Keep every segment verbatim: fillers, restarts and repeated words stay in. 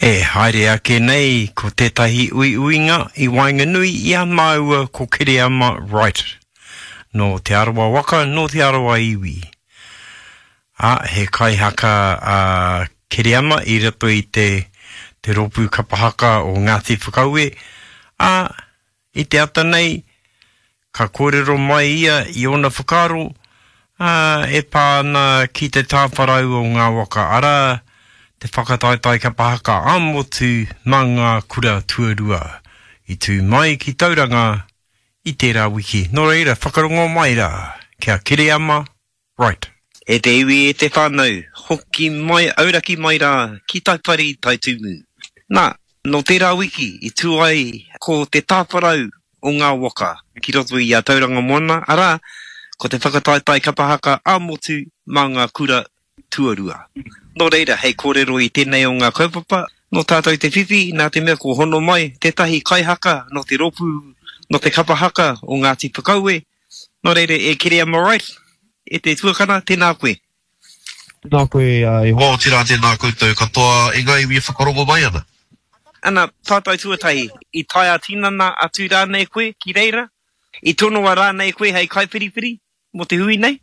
E haere ake nei ko tētahi uiuinga i waenganui i a māua ko Kereama Wright. Nō Te Arawa waka, nō Te Arawa iwi. Ā, he kaihaka a Kereama i roto i te, te rōpū kapa haka o Ngāti Whakaue, ā, i te ata nei, ka kōrero mai ia i ōna whakaaro, ā, e pā ana ki te tāwharau o ngā waka, arā, te whakataetae kapa haka ā-motu mā ngā kura tuarua i tū mai ki Tauranga i tērā wiki. Nō reira, whakarongo mai rā, kia Kereama Wright. E te iwi, e te whānau, hoki mai, auraki mai rā ki Taipari, Taitumu. Nā, nō tērā wiki i tū ai ko te tāwharau o ngā waka ki roto i a Tauranga Moana, arā, ko te whakataetae kapa haka ā-motu mā ngā kura tuarua. Nō reira, hei kōrero i tēnei o ngā kaupapa, nō tātou te whiwhi, nā te mea kua hono mai tētahi kaihaka nō te rōpū, nō te kapa haka o Ngāti Whakaue. Nō reira, e Kereama Wright, e te tuakana, tēnā koe. Tēnā koe, e hoa, otirā tēnā koutou katoa e ngā iwi e whakarongo mai ana. Ana, pātai tuatahi, i tae ā-tinana atu rānei koe ki reira? I tonoa rānei koe hei kaiwhiriwhiri? Mō te hui nei?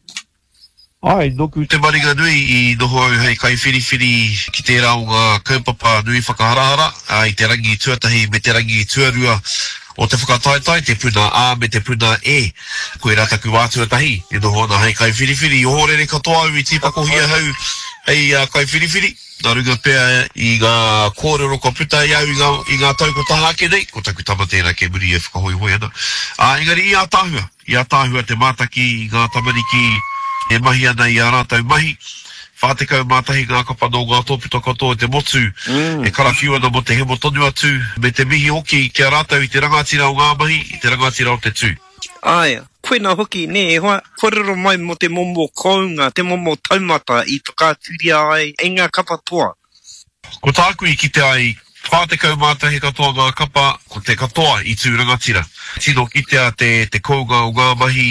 Āe, nōku te maringa nui i noho au hei kaiwhiriwhiri ki tērā o ngā kaupapa nui whakaharahara i te rangi tuatahi me te rangi tuarua o te whakataetae, te puna A me te puna E. Koirā taku wā tuatahi e noho ana hei kaiwhiriwhiri. I ohorere katoa au i tīpakohia ahau hei kaiwhiriwhiri, nā runga pea i ngā kōrero kua puta i a au i ngā, i ngā tau kua taha ake nei, ko taku tama tērā kei muri e whakahoihoi ana. Ā, engari i ātaahua. I ātaahua te mātaki i ngā tamariki e mahi ana i ā rātou mahi. Whā tekau mā tahi ngā kapa nō ngā tōpito katoa o te motu e karawhiu ana mō te hemo tonu atu, me te mihi hoki ki a rātou i te rangatira o ngā mahi, i te rangatira o te tū. Āe, koina hoki, nē, e hoa, kōrero mai mō te momo kounga, te momo taumata i whakaaturia ai e ngā kapa toa. Ko tāku i kite ai, whā tekau mā tahi katoa ngā kapa, ko te katoa i tū rangatira. Tino kitea te te kounga o ngā mahi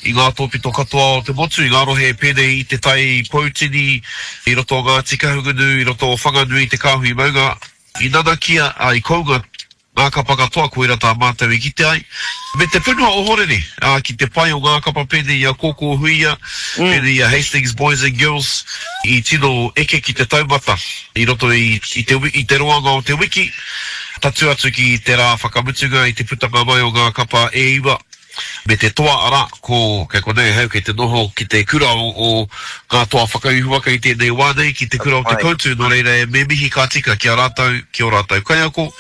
i ngā tōpito katoa o te motu, i ngā rohe pēnei i Te Tai Poutini, i roto o Ngāti Kahungunu, i roto o Whanganui, Te Kāhui Maunga. I nanakia, ā, i kounga Ngā kapa katoa, koira tā mātou i kite ai. Me te whenua ohorere, ā, ki te pai o ngā kapa pēnei i a Kōkō Huia, pēnei i a Hastings Boys and Girls, i tino eke ki te taumata i roto i, i te, i te roanga o te wiki, tatū atu ki te rā whakamutunga i te putanga mai o ngā kapa e iwa. Me te toa, arā, ko, kei konei ahau kei te noho ki te kura o, o ngā toa whakaihuwaka i tēnei wā nei, ki te kura o Te Koutu, nō reira e me mihi ka tika ki a rātou, ki ō rātou kaiako,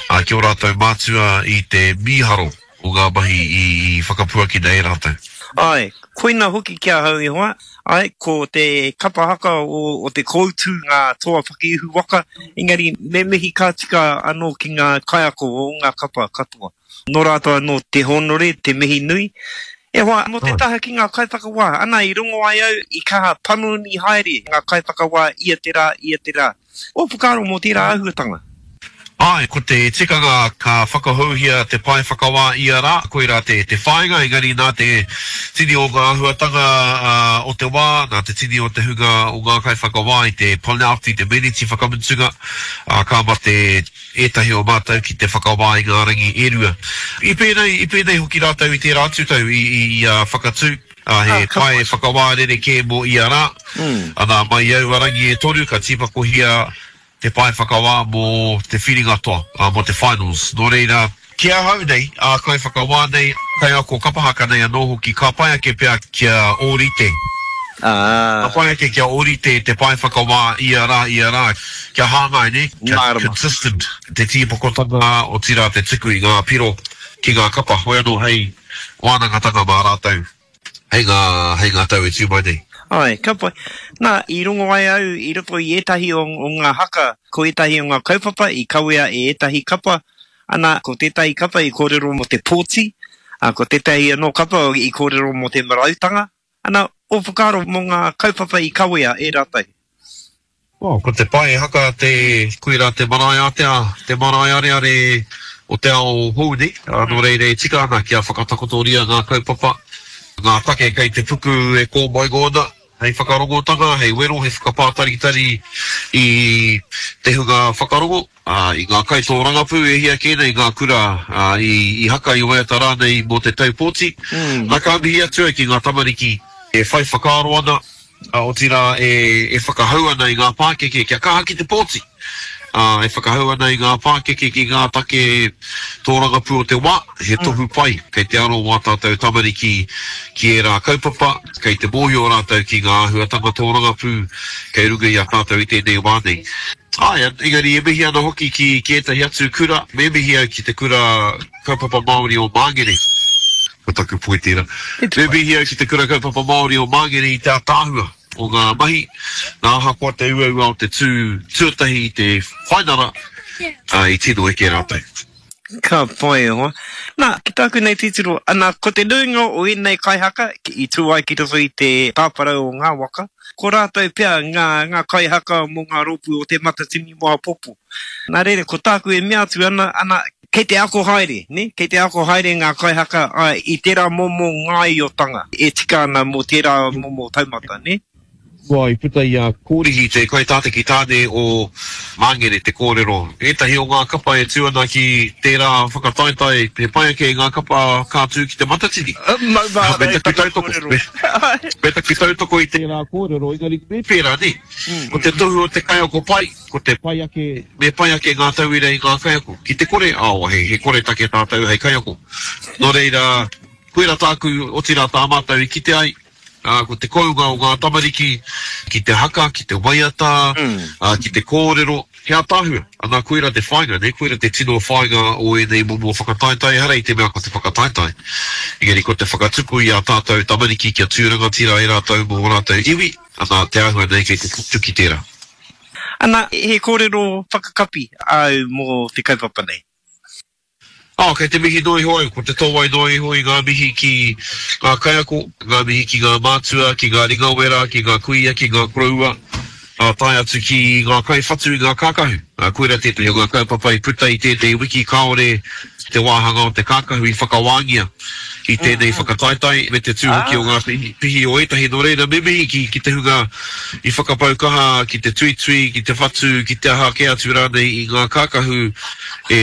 ā, ki ō rātou mātua i te mīharo o ngā mahi i, i whakapuakina e rātou. Āe, koina hoki ki ahau e hoa, āe, ko te kapa haka o, o Te Koutu ngā toa whakaihuwaka, engari me mihi ka tika anō ki ngā kaiako o ngā kapa katoa. Nō rātou anō te hōnore, te mihi nui. E hoa, mō te taha ki ngā kaiwhakawā, ana i rongo ai au i kaha panoni haere ngā kaiwhakawā ia te rā, ia te rā. Ō whakaaro mō tērā āhuatanga? Āe, ko te tikanga ka whakahouhia te pae whakawā ia rā, koirā te te whāinga, engari nā te tini o ngā āhuatanga o te wā, nā te tini o te hunga o ngā kaiwhakawā i te panelti, te meneti whakamutunga, ā, ka mate ētahi o mātou ki te whakawā i ngā rangi e rua. I pēnei, i pēnei hoki rātou i tērā atu tau i, i, i a Whakatū, ā, he pae whakawā rerekē mō ia rā. Anā, mai i aua rangi e toru ka tīpakohia te pae whakawā mō te whiringa toa, ā, mō te finals. Nō reira, ki ahau nei, ā kaiwhakawā nei, kaiako kapa haka nei anō hoki, ka pai ake pea kia ōrite. Ka pai ake kia ōrite te pae whakawā ia rā, ia rā, kia hāngai, nē, kia consistent te tīpakotanga, otirā te tuku i ngā piro ki ngā kapa, hoi anō hei wānangatanga mā rātou hei ngā, hei ngā tau e tū mai nei. Āe, ka pai. Nā, i rongo ai au i roto i ētahi o, o ngā haka, ko ētahi o ngā kaupapa i kawea e ētahi kapa, ana, ko tētahi kapa i kōrero mō te pōti, ā, ko tētahi anō kapa i kōrero mō te marautanga. Ana, ō whakaaro mō ngā kaupapa i kawea e rātou? Oh, ko te pae haka te, koirā te marae ātea, te marae areare o te ao hou nei, ā, nō reira e tika ana kia whakatakotoria ngā kaupapa, ngā take kei te puku e kōmaingo ana, hei whakarongotanga, hei wero, hei whakapātaritari i te hunga whakarongo, ā, i ngā kaitōrangapū e hia kē nei ngā kura, ā, i, i haka i waiata rānei mō te tau pōti. Nā, ka mihi atu au ki ngā tamariki e whai whakaaro ana, ā, otirā e, e whakahau ana i ngā pākeke kia kaha ki te pōti, ā, e whakahau ana i ngā pākeke ki ngā take tōrangapū o te wā, he tohu pai kei te aro wā tātou tamariki ki ērā kaupapa, kei te mōhio rātou ki ngā āhuatanga tōrangapū kei runga i a tātou i tēnei wā nei. Āe, engari e mihi ana hoki ki, ki ētahi atu kura, me mihi au ki te kura kaupapa Māori o Māngere, ko taku poi tērā, me mihi au ki te kura kaupapa Māori o Māngere i te ātaahua o ngā mahi, nā ahakoa te uaua o te tū tuatahi i te whainara, ā, i tino eke rātou. Ka pai e hoa. Nā, ki tāku nei titiro, ana, ko te nuinga o ēnei kaihaka i tū ai ki roto i te tāwharau o ngā waka, ko rātou pea ngā, ngā kaihaka mō ngā rōpū o Te Matatini mō āpōpō. Nā reira, ko tāku e mea atu ana, ana, kei te ako haere, nē, kei te ako haere ngā kaihaka, āe, i tērā momo ngāiotanga e tika ana mō tērā momo taumata, nē. Kua i puta i a Kōrihi te kaitātaki tāne o Māngere te kōrero. Ētahi o ngā kapa e tū ana ki tērā whakataetae he pai ake i ngā kapa ka tū ki Te Matatini. Me taku tautoko, me taku tautoko i tērā kōrero, engari me pērā, nē. Ko te tohu o te kaiako pai, ko te pai ake, me pai ake ngā tauira i ngā kaiako. Ki te kore, ao, he, he koretake tātou hei kaiako. Nō reira, koirā tāku, otirā tā mātou i kite ai, ā, ko te kounga o ngā tamariki ki te haka, ki te waiata, ā, ki te kōrero, he ātaahua. Ana, koirā te whāinga, nē, koirā te tino whāinga o ēnei momo whakataetae, ehara i te mea ko te whakataetae, engari ko te whakatupu i ā tātou tamariki kia tū rangatira ai rātou mō ō rātou iwi, ana, te āhua nei kei te tutuki tērā. Ana, he kōrero whakakapi āu mō te kaupapa nei? Ā, kei te mihi noa iho au, ko te tōwai noa iho i ngā mihi ki ngā kaiako, ngā mihi ki ngā mātua, ki ngā ringawera, ki ngā kuia, ki ngā koroua, ā, tae atu ki ngā kaiwhatu i ngā kākahu. Ā, koirā tētahi o ngā kaupapa i puta i tēnei wiki kāore te wāhanga o te kākahu i whakawāngia i tēnei whakataetae, me te tū hoki o ngā pihi o ētahi. Nō reira, me mihi ki, ki te hunga i whakapau kaha ki te tuitui, ki te whatu, ki te aha kē atu rānei i ngā kākahu e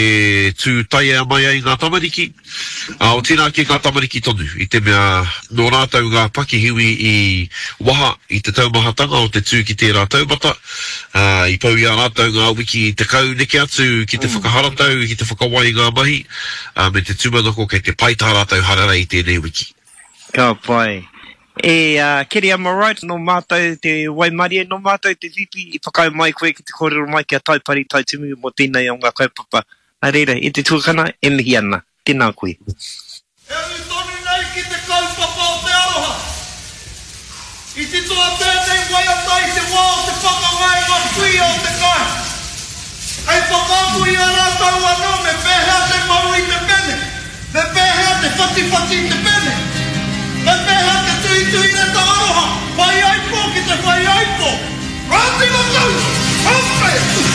tū taiea mai ai ngā tamariki, ā, otirā ki ngā tamariki tonu, i te mea nō rātou ngā pakihiwi i waha i te taumahatanga o te tū ki tērā taumata, ā, i pau i a rātou ngā wiki tekau neke atu ki te whakaharatau, ki te whakawai i ngā mahi, ā, me te tūmanako kei te pai tā rātou hararei i tēnei wiki. Ka pai. E Kereama Wright, nō mātou te waimarie, nō mātou te whiwhi i whakaae mai koe ki te kōrero mai ki a Taipari Taitimu mō tēnei o ngā kaupapa. Nā reira, e te tuakana, e mihi ana. Tēnā koe. E ū tonu nei ki te kaupapa o te aroha. I titoa tēnei waiata i te wā o te pakanga e ngā kuia o te kāinga. Hei whakaako i a rātou anō me pēhea te mau i te pene, me pēhea te whatiwhati i te pene, me pēhea te tuhituhi reta aroha, whaiaipo ki te whaiaipo. Rāti Matau! Hape!